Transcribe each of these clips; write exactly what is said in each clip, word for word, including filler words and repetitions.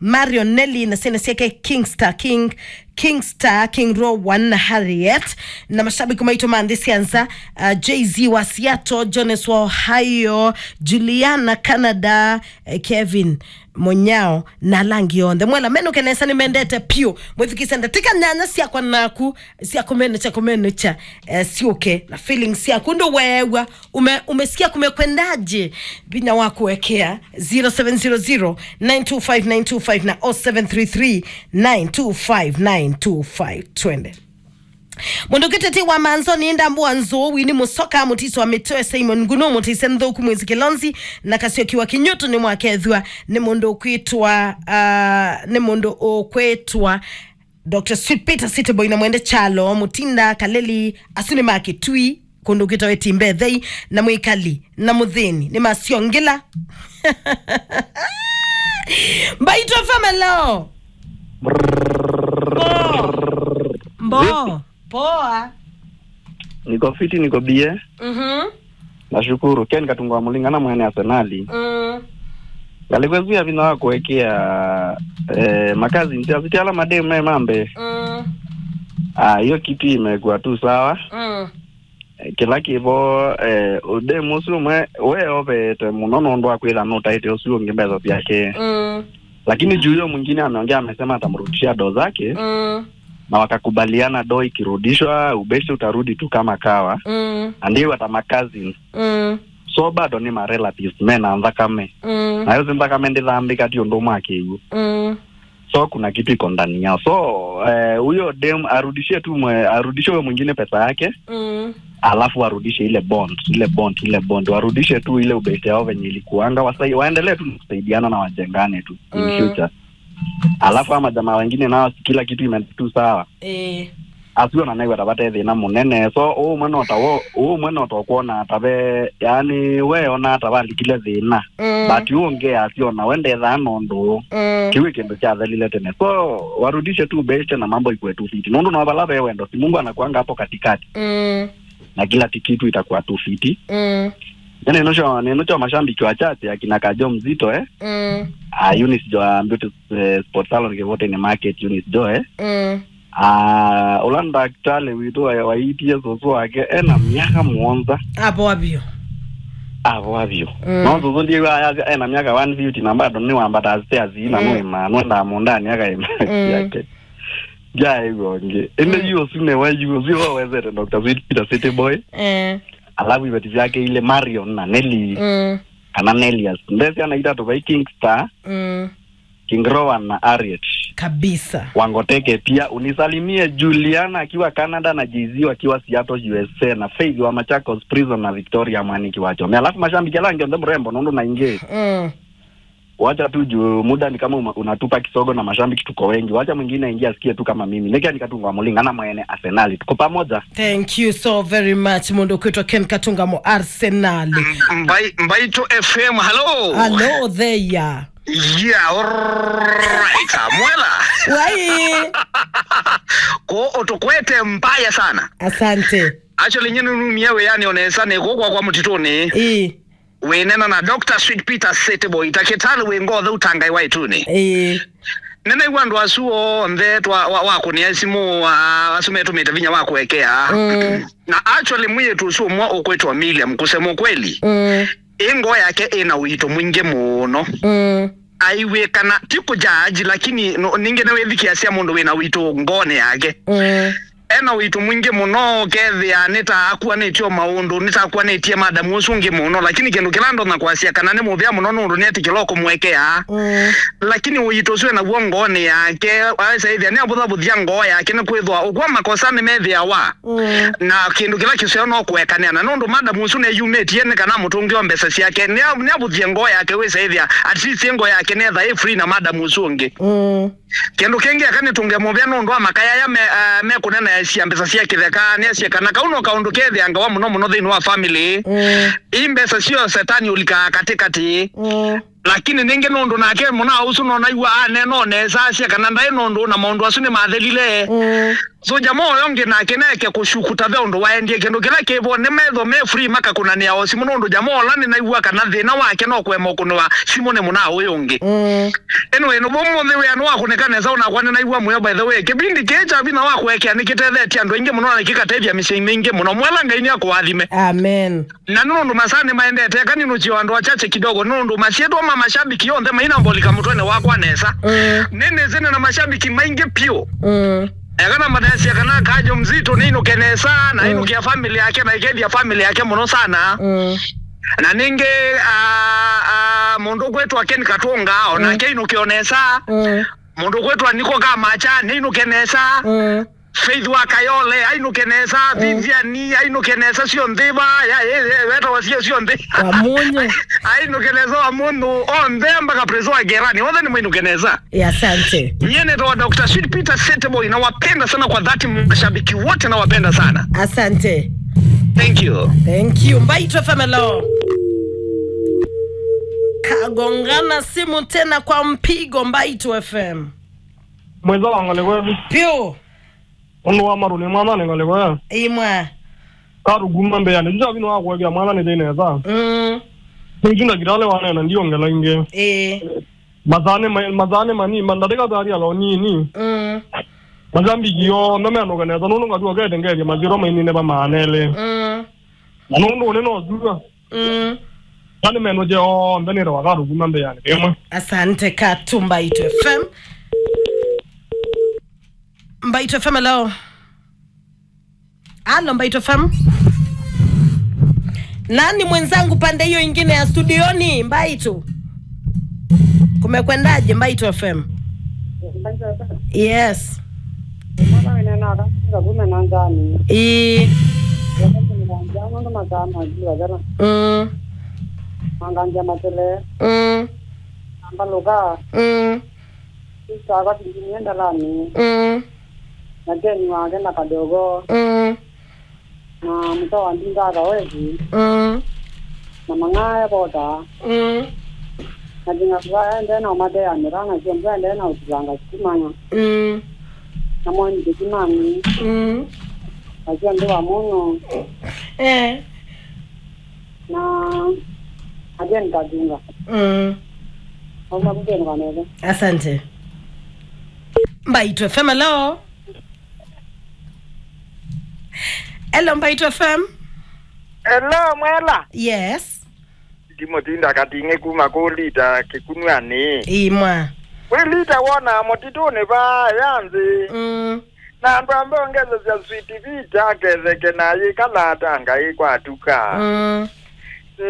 Marion Nelly na syana syake Kingstar King, Kingstar King Rowan na Harriet, na mashabiki maitũ ma nthĩ sya nza, uh, Jay-Z wa Seattle, Jones wa Ohio, Juliana Canada, eh, Kevin Monyao na ala angĩ onthe. Mwela menũke nesa, nĩmendete piũ. Mwĩthukĩĩsye ndatĩka nyanya syakwa naku sya kũmenũkya, kũmenũkya, eh, syũke na feelings syaku. Ndũ weew'a, ume-, umesikia kumekwendaje? Vinya wa kũekea, zero seven zero zero, nine two five nine two five na oh seven three three, nine two five nine two five. Twende. Mũndũ kĩtete wa Manzoni, Ndambũa Nzũũ, Winnie Mũsoka, Mũtiso wa Mĩtwe, Simon Nguno, Mũtise Nthũku, Mwĩzi Kĩlonzi, na Kasioki wa Kinyũtũ nĩ mwakethwa nĩ mũndũ ũkwĩtwa, ah, nĩ mũndũ ũkwĩtwa Doctor Sweet Peter, City Boy na Mwende Kyalo, Mũtinda, Kaleli, asu nĩ ma Kĩtui, kũndũ kwĩtawa Ĩtimbe Ĩthei, na Mwĩkali na Mũthĩni nĩ ma Siongila. Mbaitũ F M, hello. Mbo. Mbo. Poa. Niko fiti, niko bie. Mhm. Nashukuru. Ken Katunga wa Mũlingana, mwene Arsenali. Mm. Ngalĩkwĩsĩa vinya wa kũekea, eh, makazi ntia siti ala mademu me mambe. Mm. Ah, hiyo kitu imekuwa tu sawa. Mm. Eh, kĩla kĩvo, eh, ũdemu ũsu ũmwe weovete mũno nũndũ wa kwĩtha nũtaĩte ũsu ũngĩ mbesa syake. Mm. Lakini juu hiyo mwingine ameongea, amesema atamrudishia do zake. Mm. Na wakakubaliana do ikirudishwa, ubeshte utarudi tu kama kawa. Mm. And they were my cousins. Mm. So bado nĩ ma relatives, me na nthakame. Mm. Na yo si nthakame ndĩthambĩka ti ũndũ ũmwe akĩw'o. Mm. So kuna kitu iko ndani yao. So, eh, huyo dem arudishie tu mwe-, arudishie huyo mwingine pesa yake. Mm. Alafu arudishe ile bond, ile bond, ile bond. Warudishe tu ile ubeshte yao venye ilikuanga. Wasai-, waendelee tu kusaidiana na wajengane tu in future. Alafu ama jamaa wengine nao kila kitu imeenda tu sawa. Eh. Asu ona naiwe tavate thĩna mũnene. So, ũmwe no ta wo, ũmwe no ta ũkwona tave, yani, we ona tavalikile thĩna. Mm. But ũngĩ asiona we ndethaa nondũ. Mm. Kĩu kĩndũ kyathelile tene. So, warudishe tu beshte na mambo ikuwe tu fiti. Nũndũ no vala ve wendo, si Mungu anakuanga hapo katikati. Mm. Na kila ti-, kitu itakuwa tu fiti. Mm. Neno cho, neno cho mashabiki wachache, akina Kajo Mzito, eh? Mm. Ah, Eunice Jo, Beauty, eh, Sport Salon, Kivutini Market, Eunice Jo, eh? Mm. Ah, ũla ndakĩtalĩ witũ wa, waitie sũsũ wake, ena myaka mũonza. Avoa vyũ. Avoa vyũ. Mm. No sũsũ ndiw'a ayasya ena myaka one fifty na bado nĩwambataa stairs ina. Mm. Nũĩmaa, nwendaa mũũndanĩ akaĩma. Mm. Yake. Ndyaĩw'a ũngĩ. Ĩndĩ, mm, yu ũsu nĩwe, yu ũsu wawezete Doctor Sweet Peter City Boy. Eh. Alafu iveti vyake ilĩ Marion na Nelly. Mm. Kana Nellius. Nde syana itatũ vai King Star. Mm. King Rowan na Harriet. Kabisa. Wangoteke pia. Unisalimie Juliana akiwa Canada na Jay-Z wakiwa Seattle, U S A, na Faith wa Machakos Prison na Victoria Mwaniki wa Chome. Alafu mashabiki ala angĩ onthe mrembo nũndũ na ingĩ. Mm. Wacha tu juu muda ni kama uma-, unatupa kisogo na mashabiki tuko wengi. Wacha mwingine aingie asikie tu kama mimi. Nĩkĩ nĩ Katunga wa Mũlingana mwene Arsenal. Tuko pamoja. Thank you so very much, mũndũ ũkwĩtwa Ken Katunga mo Arsenal. Mbai-, Mbaitũ F M, hello. Hello there. Yeah, alright, mwela. Wai. Ko ũtũkwete mbaya sana. Asante. Actually, nyie nĩnumie wĩanĩ o nesa nĩ kũkwa kwa mũtitũnĩ. Ĩĩ. Wĩnena na Doctor Sweet Peter City Boy, takĩtalĩ wĩ ngoo thau ta Ngai wa ĩtunĩ. Ĩĩ. Nĩnaigua andũ asu onthe twa-, wa-, wakũnĩa simũ, a-, asu metũmĩte vinya wa kũekea. Mm. Na actually, mwĩĩtu ũsu ũmwe ũkwĩtwa Miriam, kusema ukweli, mm, ĩ ngoo yake ĩna ũito mwingĩ mũno. Mm. Aiw'ĩkana, ti kũjaji, lakini no, ningĩ nĩwĩthikĩasya mũndũ wĩna ũito ngoonĩ yake. Mm. Ena ũito mwingĩ mũno, ũkethĩa nĩta akuanĩtye o maũndũ, nĩta akuanĩtye madamu ũsu ũngĩ mũno, lakini kĩndũ kĩla ndonya kwasya kana nĩ mũvea mũno nũndũ nĩetĩkĩla o kũmũekea. Mm. Lakini ũito ũsu enaw'o ngoonĩ yake, aesa ĩthĩa nĩavũthavũthya ngoo yake, nĩkwĩthwa ũkw'a makosa nĩmethĩawa. Mm. Na kĩndũ kĩla kĩseo no kũekanĩa, na nũndũ madamu ũsu neyumĩtie nĩ kana mũtũngĩo mbesa syake, nĩa-, nĩavũthie ngoo yake, wĩsa ĩthĩa at least ngoo yake nĩetha ĩ free na madamu ũsu ũngĩ. Mm. Kĩndũ kĩngĩ eka nĩtũnge mũvea nũndũ wa makaya aya me, ah, mekũnenaesya mbesa sya kĩtheka, nĩasye kana kau no kaũndũ kethĩangawa mũno mũno thĩinĩ wa family. Mm. Ii mbesa syo setani ũlikaa katĩkatĩ. Mm. Lakini ningĩ nũndũ nake mũna ũsu nonaigua aneena o nesa asya kana ndaĩ nũndũ na maũndũ asu nĩmathelile. Mm. So jamaa ũyũ ũngĩ nake neke kũshukuta ve ũndũ waendie kĩndũ kĩla kĩvo, nĩ metho me free makakũnanĩa o simũ, nũndũ jamaa ũla nĩnaĩw'a kana thĩna wake no kũema ũkũnĩwa simũ nĩ mũna ũyũ ũngĩ. Mm. Anyway, nũvũ mũnthĩ wĩa nĩwakũnĩka nesa, onakwa nĩnaĩw'a mũyo, by the way. Kĩvindi kĩĩ kya vinya wa kũekea nĩkĩtethetye andũ aingĩ mũno na nĩkĩkatethya mĩsyĩ mingĩ mũno. Mwela Ngai nĩakũathime. Amen. Na nĩ ũndũ masaa nĩmaendete, eka ninũkye andũ achache kidogo, nĩ ũndũ masyĩtwa ma mashabiki onthe mainambolika mũtwenĩ wakwa nesa. Mm. Nĩnĩsĩ nĩ na mashabiki maingĩ piũ. Mm. Eka na mathesya kana Kajo Mzito nĩinũke nesa, na Mm. ainũkĩa family yake, na ĩkethya family yake mũno sana. Mm. Na ningĩ, ah, ah, mũndũ kwĩtwa Ken Katunga, onake Mm. ainũkĩa nesa. Mm. Mũndũ kwĩtwa Niko Kamacha, nĩinũke nesa. Mm. Faith wa Kayole, ainũke nesa. Mm. Vivian, ainũke nesa syonthe va, ya, ya, ya, wetawa sio syonthe. Wa Munyu. Ainũke nesa wa Munyu, onthe mpaka Prezo wa Gerani, onthe nĩmainũke nesa. Ya, asante. Nyie nĩtawa Doctor Sweet Peter Seteboy, nawapenda sana kwa dhati, mashabiki wote nawapenda sana. Asante. Thank you. Thank you. Mbaitũ F M, hello. Kagongana simu tena kwa mpigo, Mbaitũ F M. Mwĩza wa ng'ole kwetu. Piũ. Ũndũ wa marũnĩ mwana nĩ ng'ole kwetu. Imwa. Katũkuma mbĩanĩ. Juja vino wa kuwekea mwana nĩ thĩna esa. Mm. Nĩnjunda kitale wanena ndiongela ingĩ. Ĩĩ. Mathane ma-, mathane mani, mandatĩka thari alo nini. Mm. Masambiki yo, no menoka nesa, nũndũ ngatu okete ngethia maziro mainine pa maanele. Mm. Na nũndũ ũnĩ no thua. Mm. Nani meno je onthe nĩ rawa katũkuma mbĩanĩ. Ĩmwe. Asante Katu Mbaitũ F M. Mbaitũ F M, hello. Halo, Mbaitũ F M. Nani mwenzangu pande hiyo ingine ya studioni, Mbaitũ? Kumekwendaje, Mbaitũ F M? Yes. Mwana wĩna naka, kume na nzani. Ĩĩ. Nũndũ masaa ma jua jana. Mm. Manganja matele. Mm. Ambaluka. Mm. Sista akwa tindimie ndalani. Mm. Na Jeni wake na kadogo. Mm. Na mtoto wa ndinga akawezi. Mm. Na mang'ae bota. Mm. Na jinga kwa ende na umatea mirana sio mbende na utilanga sikumanya. Mm. Na mwani kimani. Mm. Na sio ndo wa muno. Eh. Na again kadunga. Mm. Auma kugeni kwa nene. Asante. Mbaitũ F M, hello. Hello, Mbaitũ F M. Hello, Mwela. Yes. Ndimũtinda kating'e kuma kũ Lita Kĩkunw'anĩ. Imwa. Wĩ Lita wona mũtitũnĩ vaa ya nthĩ. Mm. Na andũ ambe ongesesya Sweet Vita aketheke na ayĩkala ata Ngai kwatuka. Mm.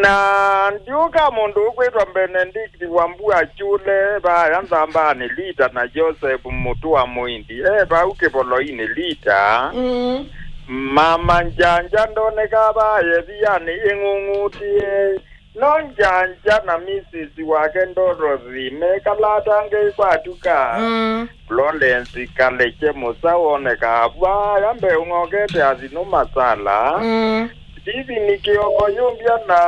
Na ndiũka mũndũ ũkwĩtwa Benedict wa Mbua Kyũle, vaya Nzambanĩ Lita na Joseph Mũtũa Mũindi, e vau kĩvoloinĩ Lita. Mm. Mama Njanja ndoneka vaya ĩvianĩ ĩng'ung'utĩe. No Njanja na Misisi wake Dorothy mekalatange kwatuka. Mm. Florence Kalekye Mũsa woneka vaya mbee ũng'okete athinũ masala. Mm. Steven Kioko Yumbia na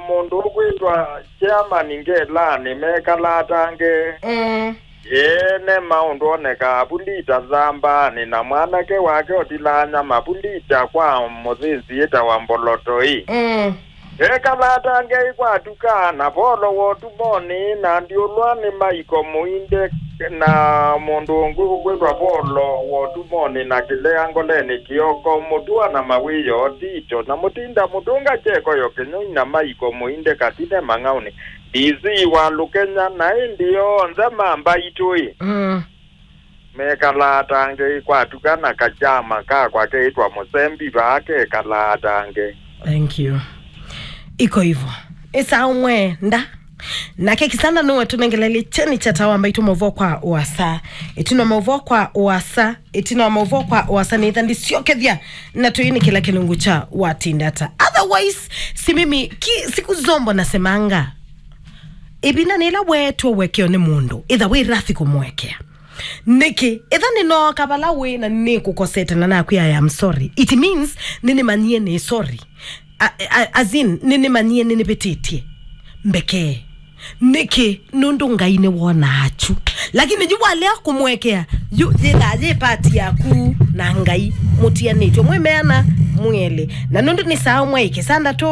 mũndũ ũkwĩtwa Chairman Ngelanĩ mekalatange. Mm. Ĩĩ, nĩ maũndũ onekaa vu Lita Nzambanĩ, na mwanake wake ũtilaa nyama vu Lita kwa mũthĩnzi ĩtawa Mbolotoi. Mm. Ekalatange kwatuka na Volo wa Ũtumonĩ, na Ndiũlwa nĩ Maiko Mũinde, na mũndũ ũngĩ ũkwĩtwa Volo wa Ũtumonĩ, na Kĩlea Ngolenĩ Kĩoko, Mũtua na Mawĩo Tito, na Mũtinda Mũtũnga Kyeko Yokĩnyũi na Maiko Mũinde Katine Mang'aũnĩ. D C wa Lukenya, na ĩndĩ onthe ma Mbaitũ-ĩ. Mm. Mekalaa tange kwatuka na kachama kakwa keĩtwa Mũsembi vaa kekalaa tange. Thank you. Iko hivyo. Esa umwe nda. Nake Kisanda nũwe tũnengelelye kyeni kya Tawa Mbaitũ maũvoo kwa ũasa. Ĩtina maũvoo kwa ũasa. Ĩtina wa maũvoo kwa ũasa nĩtha ndisyokethya na tũinĩ kĩla kĩlungu kya watinda ata. Otherwise, si mimi ki, siku zombo nasemanga. Ĩvinda nĩla weetwe ũekeo nĩ mũndũ, ĩtha wĩ rathi kũmũekea. Nĩkĩ? Ĩtha nĩnooka vala wĩ na nĩkũkosete na nakwĩa, "I am sorry." It means nĩnĩmanyie nĩ sorry. A, a, as in, nĩnĩmanyie nĩnĩvĩtĩtye. Mbekee. Nĩkĩ? Nũndũ Ngai nĩwonaa kyu. Lakini yu walea kũmũekea, yu yĩthaa yĩ part yaku. na Ngai mũtianĩtw'e mwĩ meana mwĩelĩ. Na nũndũ nĩ saa ũmwe ĩkĩsandatũ.